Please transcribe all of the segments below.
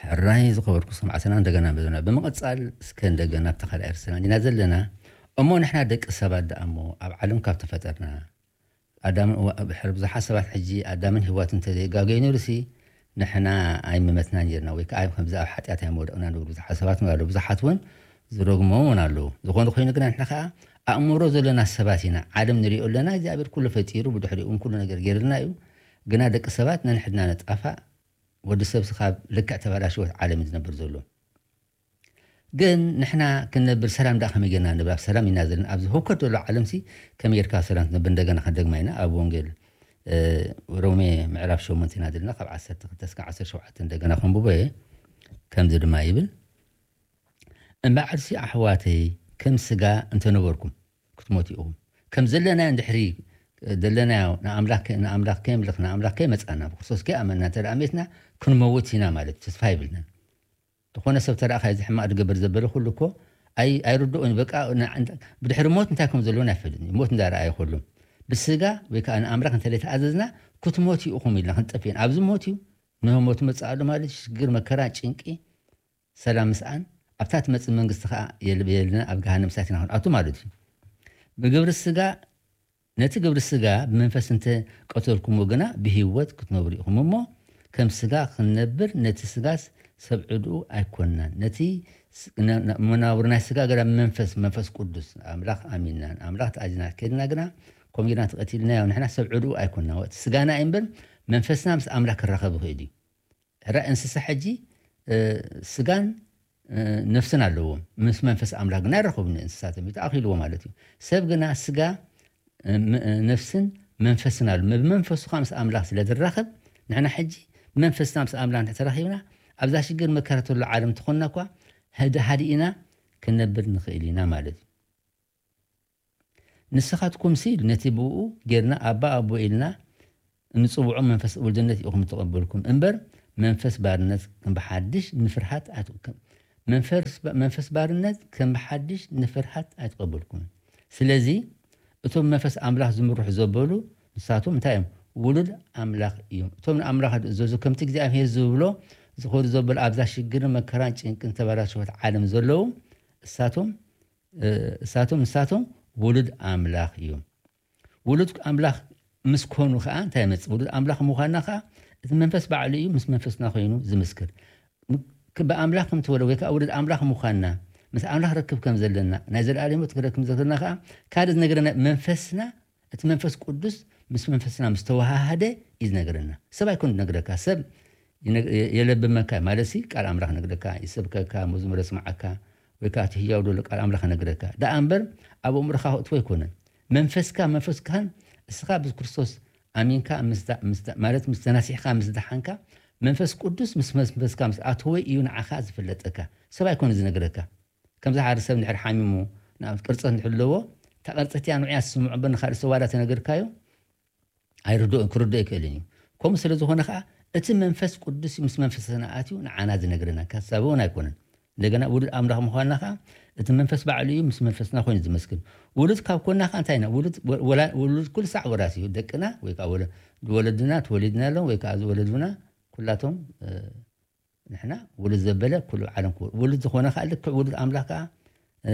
ሕራይ ዝኸበርኩ ሰማዕትና፣ እንደገና መዘና ብምቕጻል፣ እስከ እንደገና ኣብቲ ካልኣይ ርእስና እንዲና ዘለና። እሞ ንሕና ደቂ ሰባት ደኣ እሞ ኣብ ዓለም ካብ ተፈጠርና፣ ኣዳምን እዋ-፣ ድሕሪ ብዙሓት ሰባት ሕጂ ኣዳምን ሄዋትን እንተዘይጋገዩ ነይሩሲ፣ ንሕና ኣይምመትና ነይርና፣ ወይ ከኣ ከምዚ ኣብ ሓጢኣት ኣይምወደቕና ንብሉ ብዙሓት ሰባት እውን ኣለዉ። ብዙሓት እውን ዝረግሙ እውን ኣለዉ። ዝኾነ ኮይኑ ግና ንሕና ከኣ ኣእምሮ ዘለና ሰባት ኢና። ዓለም ንሪኦ ኣለና፣ እግዚኣብሔር ኩሉ ፈጢሩ፣ ብድሕሪኡ እውን ኩሉ ነገር ገይርልና እዩ። ግና ደቂ ሰባት ነንሕድና ነጣፋእ፣ ወዲ ሰብ ስኻብ ልክዕ ተባላሽወት ዓለም እዩ ዝነብር ዘሎ። ግን ንሕና ክንነብር ሰላም ደኣ ከመይ ጌርና ንነብር? ኣብ ሰላም ኢና ዘለና። ኣብዚ ህውከት ዘሎ ዓለምሲ ከመይ ጌርካ ኣብ ሰላም ትነብር? እንደገና ክንደግማ ኢና። ኣብ ወንጌል፣ እ፣ ሮሜ ምዕራፍ ሸሞንተ ኢና ዘለና፣ ካብ ዓሰርተ ክልተ እስካብ ዓሰርተ ሸውዓተ እንደገና ከንብቦ እየ። ከምዚ ድማ ይብል፣ "እምበኣርሲ ኣሕዋተይ፣ ከም ስጋ እንተነበርኩም ክትሞቱ ኢኹም።" ከም ዘለናዮ እንድሕሪ ዘለናዮ ንኣምላኽ ከ-፣ ንኣምላኽ ከየምልኽ፣ ንኣምላኽ ከይመጻና፣ ብክርስቶስ ከይኣመንና እንተ ደኣ ሜትና፣ ክንመውት ኢና ማለት እዩ። ተስፋ የብልናን። ዝኾነ ሰብ ተረኣኻ እዚ ሕማቕ ዝገብር ዘበለ ኩሉ እኮ ኣይ-፣ ኣይርድኦን። በቃ ን-፣ ብድሕሪ ሞት እንታይ ከም ዘለዎን ኣይፈልጥን እዩ። ሞት እንዳረኣየ ኩሉ ብስጋ ወይ ከዓ ንኣምላኽ እንተ ዘይተኣዘዝና፣ ክትሞቱ ኢኹም ኢልና ክንጠፍእ ኢና። ኣብዚ ሞት እዩ። ንሞት መጽእ ኣሎ ማለት እዩ። ሽግር፣ መከራ፣ ጭንቂ፣ ሰላም ምስኣን፣ ኣብታ ትመጽእ መንግስቲ ከዓ የል-፣ የልና፣ ኣብ ገሃነም እሳት ኢና ክንኣቱ ማለት እዩ። ብግብሪ ስጋ፣ ነቲ ግብሪ ስጋ ብመንፈስ እንተ ቀተልኩምዎ ግና ብህይወት ክትነብሩ ኢኹም እሞ፣ ከም ስጋ ክንነብር ነቲ ስጋስ ሰብ ዕድኡ ኣይኮንናን። ነቲ ስ-፣ ነ-፣ ነ-፣ መናብር ናይ ስጋ ግና ብመንፈስ፣ መንፈስ ቅዱስ ኣምላኽ ኣሚንና፣ ኣምላኽ ተኣዚዝና ከድና ግና፣ ከምኡ ጌርና ተቐቲልናዮ፣ ንሕና ሰብ ዕድኡ ኣይኮንና። እቲ ስጋና እዩ እምበር መንፈስና ምስ ኣምላኽ ክራኸብ ይኽእል እዩ። ሕራይ እንስሳ ሕጂ፣ እ፣ ስጋን፣ እ፣ ነፍስን ኣለዎም። ምስ መንፈስ ኣምላኽ ግን ኣይራኸቡን እንስሳት እዮም። ተኣኺልዎ ማለት እዩ። ሰብ ግና ስጋ፣ እ፣ ም-፣ እ፣ ነፍስን መንፈስን ኣሎ። ብመንፈሱ ከዓ ምስ ኣምላኽ ስለ ዝራኸብ፣ ንሕና ሕጂ ብመንፈስና ምስ ኣምላኽ እንድሕር ተራኺብና፣ ኣብዛ ሽግር መከራ ተሎ ዓለም ተኾንና እኳ፣ ህድ-፣ ሃዲእና ክንነብር ንኽእል ኢና ማለት እዩ። ንስኻትኩምሲ ነቲ ብኡ ጌርና ኣባ ኣቦ ኢልና እንጽውዖ መንፈስ ውልድነት ኢኹም እተቐበልኩም እምበር፣ መንፈስ ባርነት ከም ብሓድሽ ንፍርሃት ኣት-፣ ከም፣ መንፈስ፣ መንፈስ ባርነት ከም ብሓድሽ ንፍርሃት ኣይተቐበልኩምን። ስለዚ እቶም መንፈስ ኣምላኽ ዝምርሑ ዘበሉ ንሳቶም እንታይ እዮም? ውሉድ ኣምላኽ እዮም። እቶም ንኣምላኽ ዝእዘዙ ከምቲ እግዚኣብሔር ዝብሎ ዝኸዱ ዘበሉ ኣብዛ ሽግርን መከራን ጭንቅን ተበላሸወት ዓለም ዘለዉ እሳቶም፣ እ፣ እሳቶም፣ ንሳቶም ውሉድ ኣምላኽ እዮም። ውሉድ ኣምላኽ ምስ ኮኑ ኸዓ እንታይ ይመጽእ? ውሉድ ኣምላኽ ምዃንና ኸዓ እቲ መንፈስ ባዕሉ እዩ ምስ መንፈስና ኾይኑ ዝምስክር። ም-፣ ክ-፣ ብኣምላኽ ከም ተወለ ወይ ከኣ ውሉድ ኣምላኽ ምዃንና፣ ምስ ኣምላኽ ርክብ ከም ዘለና፣ ናይ ዘለኣለም ህይወት ክረክብ ዘለና ኸዓ ካልእ ዝነገረና መንፈስና፣ እቲ መንፈስ ቅዱስ ምስ መንፈስና ምስ ተወሃሃደ እዩ ዝነገረና። ሰብ ኣይኮን ዝነግረካ። ሰብ ይነግ-፣ የ-፣ የለብመካ ማለት ሲ ቃል ኣምላኽ ነግረካ፣ ይሰብከካ፣ መዝሙር የስምዓካ፣ ወይ ከኣ እቲ ህያው ዘሎ ቃል ኣምላኽ ነግረካ። ደኣ እምበር ኣብ ኣእምሮኻ ከእትዎ ኣይኮነን። መንፈስካ፣ መንፈስካን እስኻ ብክርስቶስ ኣሚንካ ምስ ዳ-፣ ምስ ዳ-፣ ማለት ምስ ተናሲሕካ፣ ምስ ደሓንካ፣ መንፈስ ቅዱስ ምስ መንፈስካ ምስ ኣተወ እዩ ንዓኻ ዝፍለጠካ። ሰብ ኣይኮነ ዝነግረካ። ከምዚ ሓደ ሰብ እንድሕር ሓሚሙ፣ ንኣብነት ቅርጸት እንድሕር ኣለዎ፣ እታ ቅርጸት እያ ንዑ እያ ትስምዖ እምበር ንኻልእ ሰብ ዋላ ተነገርካዮ፣ ኣይርድኦን፣ ክርድኦ ኣይክእልን እዩ። ከምኡ ስለ ዝኾነ ኸዓ፣ እቲ መንፈስ ቅዱስ ምስ መንፈስና ኣትዩ ንዓና ዝነግረና፣ ካብ ሰብ እውን ኣይኮነን። እንደገና ውሉድ ኣምላኽ ምዃንና ኸዓ፣ እቲ መንፈስ ባዕሉ እዩ ምስ መንፈስና ኮይኑ ዝመስክር። ውሉድ ካብ ኮንና ኸዓ እንታይ ኢና? ውሉድ ወ-፣ ወላ-፣ ውሉድ ኩሉ ሳዕ ወራሲ እዩ። ደቅና ወይ ከኣ ወለ-፣ ወለድና ተወሊድናሎም ወይ ከኣ ዝወለዱና ኩላቶም፣ እ፣ ንሕና ውሉድ ዘበለ ኩሉ ዓለም ክወ-፣ ውሉድ ዝኾነ ኸዓ ልክዕ ውሉድ ኣምላኽ ከኣ፣ እ፣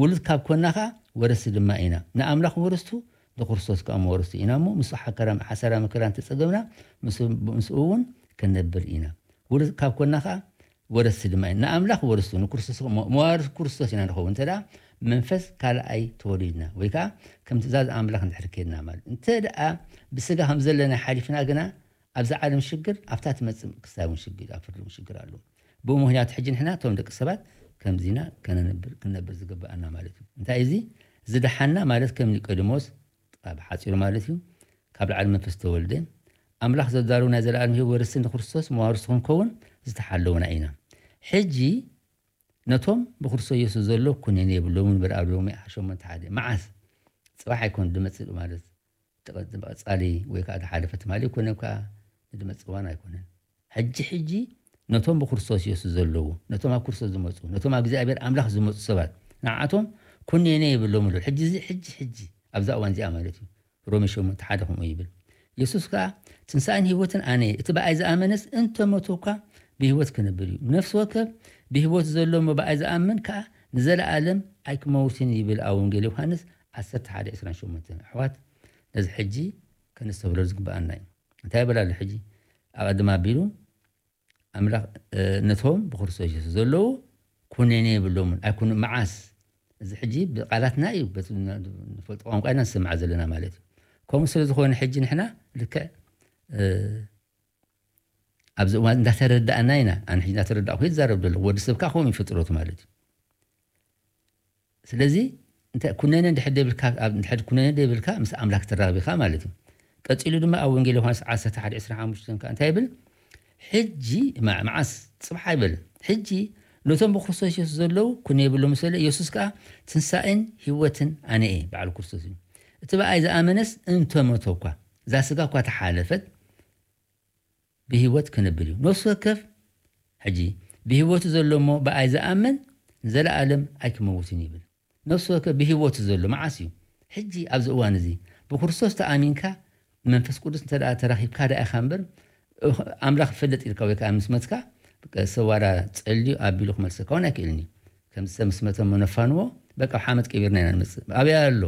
ውሉድ ካብ ኮንና ኸዓ ወረስቲ ድማ ኢና። ንኣምላኽ ወረስቱ፣ ንክርስቶስ ከኣ መወረስቱ ኢና እሞ፣ ምስኡ ሓከራ-፣ ሓሳራ መከራ እንተጸገብና፣ ምስኡ፣ ምስኡ እውን ክንነብር ኢና። ውሉድ ካብ ኮንና ኸዓ ወረስቲ ድማ ኢና። ንኣምላኽ ወረስቱ፣ ንክርስቶስ ከኣ መ-፣ መዋርስ ክርስቶስ ኢና ንኸውን። እንተ ደኣ መንፈስ ካልኣይ ተወሊድና፣ ወይ ከኣ ከም ትእዛዝ ኣምላኽ እንድሕር ኬድና ማለት። እንተ ደኣ ብስጋ ከም ዘለና ሓሊፍና ግና፣ ኣብዚ ዓለም ሽግር፣ ኣብታ ትመጽእ ክስታይ እውን ሽግር፣ ኣብ ፍርዲ እውን ሽግር ኣሎ። ብኡ ምኽንያት ሕጂ ንሕና እቶም ደቂ ሰባት ከምዚና ከነነብር፣ ክንነብር ዝግብኣና ማለት እዩ። እንታይ እዚ? ዝደሓና ማለት ከም ኒቆዲሞስ፣ ብሓጺሩ ማለት እዩ፣ ካብ ላዕሊ መንፈስ ተወልደ፣ ኣምላኽ ዘዳለዎ ናይ ዘለኣለም ህይወት ወረስቲ ንክርስቶስ መዋርስ ክንከውን ዝተሓለውና ኢና። ሕጂ ነቶም ብክርስቶስ የሱስ ዘሎ ኩነኔ የብሎምን፣ ንበር ኣብ ሮሜ ሸሞንተ ሓደ። መዓስ? ጽባሕ ኣይኮን ዝመጽእ ማለት፣ እቲ ቀ-፣ እቲ ቀጻሊ ወይ ከኣ ዝሓለፈ ትማሊ ኣይኮነን፣ ከኣ ንዝመጽእ እዋን ኣይኮነን። ሕጂ፣ ሕጂ ነቶም ብክርስቶስ የሱስ ዘለዉ፣ ነቶም ኣብ ክርስቶስ ዝመጹ፣ ነቶም ኣብ እግዚኣብሔር ኣምላኽ ዝመጹ ሰባት፣ ንዓቶም ኩነኔ የብሎምን ኣሎ። ሕጂ እዚ፣ ሕጂ፣ ሕጂ ኣብዛ እዋን እዚኣ ማለት እዩ። ሮሜ ሸሞንተ ሓደ ከምኡ ይብል። የሱስ ከኣ፣ "ትንሳኤን ህይወትን ኣነ እየ፣ እቲ ብኣይ ዝኣመነስ እንተ ሞተ እኳ ብህይወት ክነብር እዩ። ነፍሲ ወከፍ ብህይወት ዘሎ እሞ ብኣይ ዝኣምን ከኣ ንዘለኣለም ኣይክመውትን ይብል ኣብ ወንጌል ዮሃንስ ዓሰርተ ሓደ ዕስራን ሸሞንተን። ኣሕዋት፣ ነዚ ሕጂ ከነስተብህሎ ዝግብኣና እዩ። እንታይ ይብል ኣሎ ሕጂ? ኣብ ኣድማ ኣቢሉ ኣምላኽ፣ እ፣ ነቶም ብክርስቶስ የሱስ ዘለዉ ኩነኔ የብሎምን። ኣይኩኑ መዓስ? እዚ ሕጂ ብቓላትና እዩ፣ በቲ ንፈልጦ ቋንቋ ኢና ንሰምዓ ዘለና ማለት እዩ። ከምኡ ስለ ዝኾነ ሕጂ ንሕና ልክዕ፣ እ፣ ኣብዚ እዋን እንዳተረዳእና ኢና። ኣነ ሕጂ እንዳተረዳእኩ ይዛረብ ዘለኹ። ወዲ ሰብ ከኣ ከምኡ እዩ ፍጥረቱ ማለት እዩ። ስለዚ እንተ ኩነነ እንድሕር ደይብልካ፣ ኣብ እንድሕር ኩነነ ደይብልካ ምስ ኣምላኽ ትራኸብ ኢኻ ማለት እዩ። ቀጺሉ ድማ ኣብ ወንጌል ዮሃንስ ዓሰርተ ሓደ ዕስራን ሓሙሽተን ከኣ እንታይ ይብል? ሕጂ፣ መ-፣ መዓስ? ጽባሕ ኣይበልን። ሕጂ ነቶም ብክርስቶስ የሱስ ዘለዉ ኩነ የብሎም፣ ስለ የሱስ ከኣ ትንሳኤን ህይወትን ኣነ እየ፣ በዓል ክርስቶስ እዩ። እቲ ብኣይ ዝኣመነስ እንተ ሞተ እኳ፣ እዛ ስጋ እኳ ተሓለፈት፣ ብህይወት ክነብር እዩ። ነፍሲ ወከፍ ሕጂ ብህይወቱ ዘሎ እሞ ብኣይ ዝኣምን ንዘለኣለም ኣይክመውትን ይብል። ነፍሲ ወከፍ ብህይወቱ ዘሎ መዓስ እዩ? ሕጂ ኣብዚ እዋን እዚ ብክርስቶስ ተኣሚንካ መንፈስ ቅዱስ እንተ ደኣ ተራኺብካ ደኣ ኢኻ እምበር፣ ኣምላኽ ይፈልጥ ኢልካ ወይ ከኣ ምስ መትካ ሰብ ዋላ ጸልዩ ኣቢሉ ክመልሰካ እውን ኣይክእልን እዩ። ከምዚ ሰብ ምስ መተ እሞ ነፋንዎ፣ በቃ ኣብ ሓመድ ቀቢርና ኢና ንመጽእ። ኣበይ ኣሎ?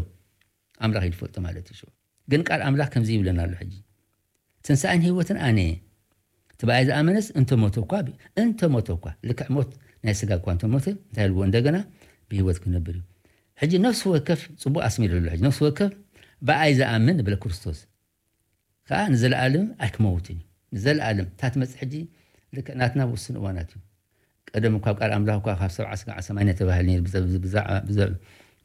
ኣምላኽ እዩ ዝፈልጦ ማለት እዩ። ሽዑ ግን ቃል ኣምላኽ ከምዚ ይብለና ኣሎ ሕጂ። ትንሳኤን ህይወትን ኣነ እየ። እቲ ብኣይ ዝኣመነስ እንተ ሞተ እኳ ብ-፣ እንተ ሞተ እኳ፣ ልክዕ ሞት ናይ ስጋ እኳ እንተ ሞተ፣ እንታይ ኢልዎ? እንደገና ብህይወት ክነብር እዩ። ሕጂ ነፍሲ ወከፍ፣ ጽቡቕ ኣስሚሩ ኣሎ ሕጂ፣ ነፍሲ ወከፍ ብኣይ ዝኣምን ብለ ክርስቶስ ከኣ ንዘለኣለም ኣይክመውትን እዩ። ንዘለኣለም፣ እታ ትመጽእ ሕጂ ልክዕ ናትና ውስን እዋናት እዩ። ቀደም እኳ ኣብ ቃል ኣምላኽ እኳ ካብ ሰብዓ ስጋዕ ሰማንያ ተባሂሉ ነይሩ፣ ብዘ-፣ ብዛዕ-፣ ብዘ-፣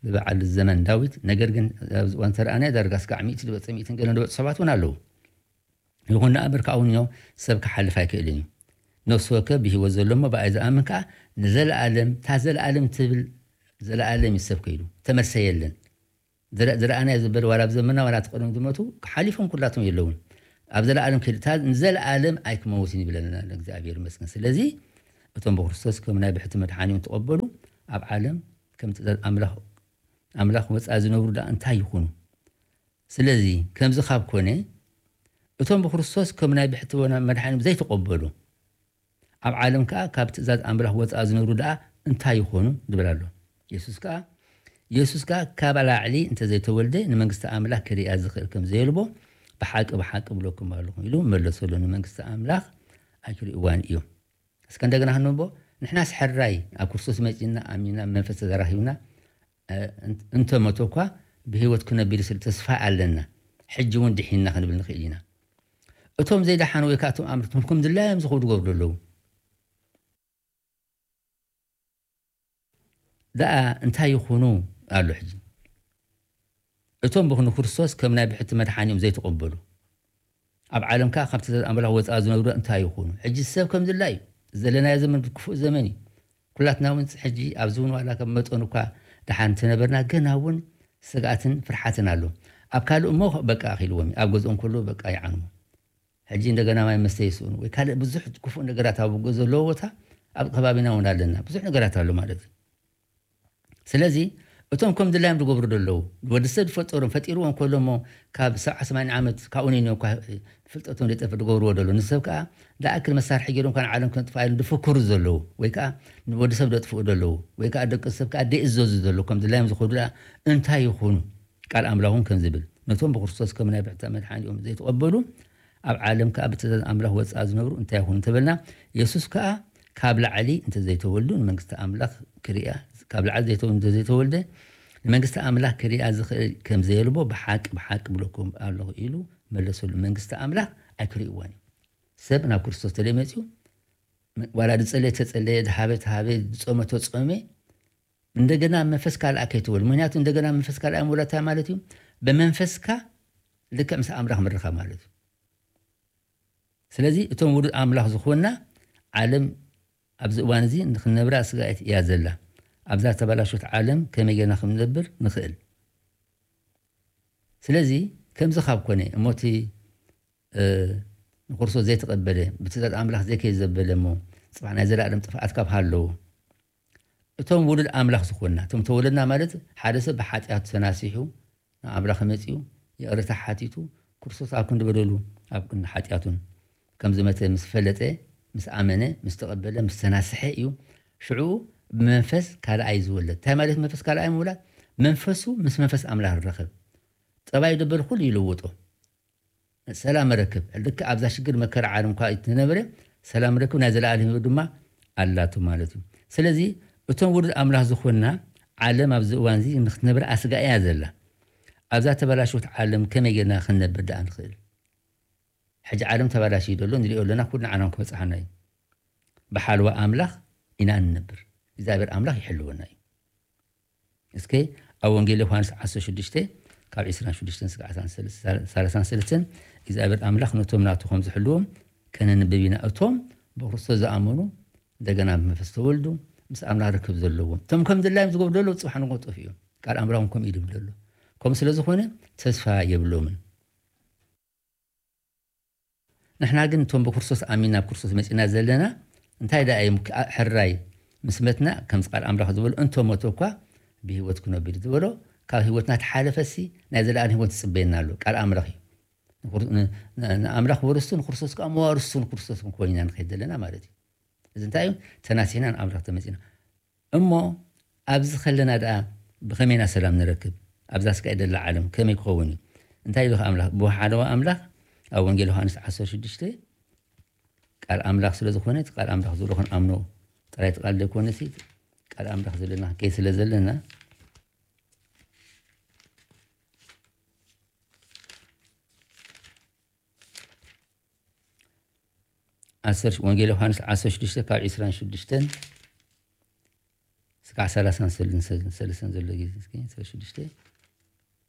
ብበዓል ዘመን ዳዊት። ነገር ግን ኣብዚ እዋን ተረኣናዮ ዳርጋ ስጋዕ ሚእቲ ዝበጽ፣ ሚእትን ገለን ዝበጽ ሰባት እውን ኣለዉ። ይኹን ደኣ እምበር፣ ካብኡ ንዮ ሰብ ክሓልፍ ኣይክእልን እዩ። ነፍሲ ወከፍ ብህይወት ዘሎ እሞ ብኣይ ዝኣምን ከኣ ንዘለኣለም፣ እታ ዘለኣለም ትብል ዘለኣለም እዩ ሰብ ከይዱ። ተመልሰ የለን። ዝረ-፣ ዝረኣናዮ ዝብል ዋላ ኣብ ዘመንና ዋላ እቲ ቀደም ዝሞቱ ሓሊፎም ኩላቶም የለውን። ኣብ ዘለኣለም ከይዱ፣ እታ ንዘለኣለም ኣይክመውትን ይብለና ኣሎ፣ እግዚኣብሔር ይመስገን። ስለዚ እቶም ብክርስቶስ ከም ናይ ብሕቲ መድሓኒኦም ተቐበሉ፣ ኣብ ዓለም ከም ትእዛዝ ኣምላኽ፣ ኣምላኽ ወፃኢ ዝነብሩ ደኣ እንታይ ይኹኑ? ስለዚ ከምዚ ካብ ኮነ፣ እቶም ብክርስቶስ ከም ናይ ብሕቲ መድሓኒኦም ዘይተቐበሉ፣ ኣብ ዓለም ከኣ ካብ ትእዛዝ ኣምላኽ ወፃኢ ዝነብሩ ደኣ እንታይ ይኾኑ? ዝብል ኣሎ። የሱስ ከኣ፣ የሱስ ከኣ ካብ ላዕሊ እንተዘይተወልደ ንመንግስቲ ኣምላኽ ክሪኣ ዝኽእል ከም ዘየልቦ ብሓቂ፣ ብሓቂ እብለኩም ኣለኹ ኢሉ መለሰሉ። ንመንግስቲ ኣምላኽ ኣይክርእይዋን እዮም። እስከ እንደገና ክንንቦ፣ ንሕናስ ሕራይ ኣብ ክርስቶስ መጺና፣ ኣሚና፣ መንፈስ ተዘራኺብና፣ እ፣ እንተ ሞተ እኳ ብህይወት ክነብር ስለ ተስፋ ኣለና። ሕጂ እውን ድሒንና ክንብል ንኽእል ኢና። እቶም ዘይደሓኑ ወይ ከኣ እቶም ኣምርቶም ከም ድላዮም ዝኸዱ ዝገብሩ ኣለዉ። ደኣ እንታይ ይኹኑ ኣሎ ሕጂ? እቶም ብኹኑ ክርስቶስ ከም ናይ ብሕቲ መድሓኒኦም ዘይተቐበሉ፣ ኣብ ዓለም ከኣ ካብ ትእዛዝ ኣምላኽ ወጻኢ ዝነብሩ እንታይ ይኹኑ? ሕጂ ሰብ ከም ድላዩ፣ ዘለናዮ ዘመን ክፉእ ዘመን እዩ። ኩላትና እውን ሕጂ ኣብዚ እውን ዋላ ከም መጠኑ እኳ ደሓን እንተነበርና፣ ገና እውን ስግኣትን ፍርሓትን ኣሎ። ኣብ ካልእ እሞ በቃ ኣኺልዎም እዩ። ኣብ ገዝኦም ከለዉ በቃ ይዓንዉ። ሕጂ እንደገና ማይ መስተ ይስእኑ ወይ ካልእ ብዙሕ ክፉእ ነገራት ኣብ ዘለዎ ቦታ ኣብ ከባቢና እውን ኣለና። ብዙሕ ነገራት ኣሎ ማለት እዩ። ስለዚ እቶም ከም ድላዮም ዝገብሩ ዘለዉ፣ ወዲ ሰብ ዝፈጠሮም፣ ፈጢርዎም ከሎ እሞ ካብ ሰብዓ ሰማንያ ዓመት ካብኡ ንንዮ እኳ ፍልጠቶም ዘይጠፍእ ዝገብርዎ ዘለዉ፣ ንሰብ ከኣ ዝኣክል መሳርሒ ገይሮም እኳ ንዓለም ከጥፍኣ ኢሎም ዝፍክሩ ዘለዉ፣ ወይ ከኣ ንወዲ ሰብ ዘጥፍኡ ዘለዉ፣ ወይ ከኣ ደቂ ሰብ ከኣ ዘይእዘዙ ዘለዉ፣ ከም ድላዮም ዝኸዱ ደኣ እንታይ ይኹኑ? ቃል ኣምላኽ እውን ከም ዝብል፣ ነቶም ብክርስቶስ ከም ናይ ብሕቲ መድሓኒኦም ዘይተቐበሉ፣ ኣብ ዓለም ከኣ ብትእዛዝ ኣምላኽ ወጻኢ ዝነብሩ እንታይ ይኹኑ እንተበልና፣ የሱስ ከኣ ካብ ላዕሊ እንተዘይተወልዱ ንመንግስቲ ኣምላኽ ክሪኣ፣ ካብ ላዕሊ ዘይተወ-፣ እንተዘይተወልደ ንመንግስቲ ኣምላኽ ክሪኣ ዝኽእል ከም ዘየልቦ ብሓቂ፣ ብሓቂ እብለኩም ኣለኹ ኢሉ መለሰሉ። መንግስቲ ኣምላኽ ኣይክርእይዋን እዩ። ሰብ ናብ ክርስቶስ ተዘይመጺኡ፣ ዋላ ዝጸለየ ተጸለየ፣ ዝሃበ ተሃበ፣ ዝጾመ ተጾመ፣ እንደገና መንፈስ ካልኣ ከይትወልድ። ምኽንያቱ እንደገና መንፈስ ካልኣ ምውላድ እንታይ ማለት እዩ? ብመንፈስካ ልክዕ ምስ ኣምላኽ ምርኻብ ማለት እዩ። ስለዚ እቶም ውሉድ ኣምላኽ ዝኾንና፣ ዓለም ኣብዚ እዋን እዚ ንኽንነብራ ስጋኣት እያ ዘላ። ኣብዛ ተበላሾት ዓለም ከመይ ጌርና ከም ንነብር ንኽእል? ስለዚ ከምዚ ካብ ኮነ እሞ እቲ፣ እ፣ ንክርስቶስ ዘይተቐበለ፣ ብትእዛዝ ኣምላኽ ዘይከይድ ዘበለ እሞ ጽባሕ ናይ ዘለኣለም ጥፍኣት ካብ ሃለዎ፣ እቶም ውሉድ ኣምላኽ ዝኾንና፣ እቶም ተወለድና ማለት ሓደ ሰብ ብሓጢኣቱ ተናሲሑ ንኣምላኽ መጺኡ ይቕሬታ ሓቲቱ፣ ክርስቶስ ኣብ ክንዲ በደሉ ኣብ ክንዲ ሓጢኣቱን ከም ዝመተ ምስ ፈለጠ፣ ምስ ኣመነ፣ ምስ ተቐበለ፣ ምስ ተናስሐ እዩ ሽዑ ብመንፈስ ካልኣይ ዝወለድ። እንታይ ማለት መንፈስ ካልኣይ ምውላድ? መንፈሱ ምስ መንፈስ ኣምላኽ ርኸብ። ጠባይ ደበል ኩሉ ይለውጦ። ሰላም ረክብ። ልክ ኣብዛ ሽግር መከራ ዓለም እኳ እትነበረ ሰላም ረክብ ናይ ዘለኣለም ህይወት ድማ ኣላቱ ማለት እዩ። ስለዚ እቶም ውሉድ ኣምላኽ ዝኾንና ዓለም ኣብዚ እዋን እዚ ንክትነብር ኣስጋ እያ ዘላ። ኣብዛ ተበላሽወት ዓለም ከመይ ጌርና ክንነብር ደኣ ንኽእል? ሕጂ ዓለም ተበላሽዩ ዘሎ ንሪኦ ኣለና፣ ኩሉ ንዓና ክበጽሓና እዩ። ብሓልዋ ኣምላኽ ኢና እንነብር። እግዚኣብሔር ኣምላኽ ይሕልወና እዩ። እስከ ኣብ ወንጌል ዮሃንስ ዓሰርተ ሽዱሽተ ካብ ዕስራን ሽዱሽተን እስከ ዓሰርተ ሰለስተን እግዚኣብሔር ኣምላኽ ነቶም ናቱ ከም ዝሕልዎም ከነንብብ ኢና። እቶም ብክርስቶስ ዝኣመኑ እንደገና ብመንፈስ ተወልዱ ምስ ኣምላኽ ርክብ ዘለዎም እቶም ከም ድላዮም ዝገብሩ ዘለዉ ጽባሕ ንጎ ጠፍኡ እዮም። ቃል ኣምላኽ እውን ከምኡ እዩ ዝብል ዘሎ። ከምኡ ስለ ዝኾነ ተስፋ የብሎምን። ንሕና ግን እቶም ብክርስቶስ ኣሚን ናብ ክርስቶስ መጺና ዘለና እንታይ ደኣ እዮም ከኣ ሕራይ ምስ መትና ከምዚ ቃል ኣምላኽ ዝበሎ እንተ ሞተ እኳ ብህይወት ክነብር እዩ ዝበሎ። ካብ ህይወትና ተሓለፈሲ ናይ ዘለኣለም ህይወት ዝጽበየና ኣሎ። ቃል ኣምላኽ እዩ። ንክር- ን- ን- ንኣምላኽ ወርስቱ ንክርስቶስ ከዓ መዋርስቱ ንክርስቶስ ክንኮን ኢና ንኸይድ ዘለና ማለት እዩ። እዚ እንታይ እዩ? ተናሲሕና ንኣምላኽ ተመጺና እሞ ኣብዚ ከለና ደኣ ብኸመይና ሰላም ንረክብ? ኣብዛ ስጋይ ደላ ዓለም ከመይ ክኸውን እዩ? እንታይ ኢሉ ኣምላኽ? ብሓለዋ ኣምላኽ ኣብ ወንጌል ዮሃንስ ዓሰርተ ሽዱሽተ ቃል ኣምላኽ ስለ ዝኾነ እቲ ቃል ኣምላኽ ዘሎ ክንኣምኖ ጥራይ እቲ ቃል ዘይኮነሲ ቃል ኣምላኽ ዘለና ከይ ስለ ዘለና ዓሰርተ ወንጌል ዮሃንስ ዓሰርተ ሽዱሽተ ካብ ዕስራን ሽዱሽተን እስካዕ ሰላሳን ሰለስተን ዘሎ ግዜ እስኪ ዓሰርተ ሽዱሽተ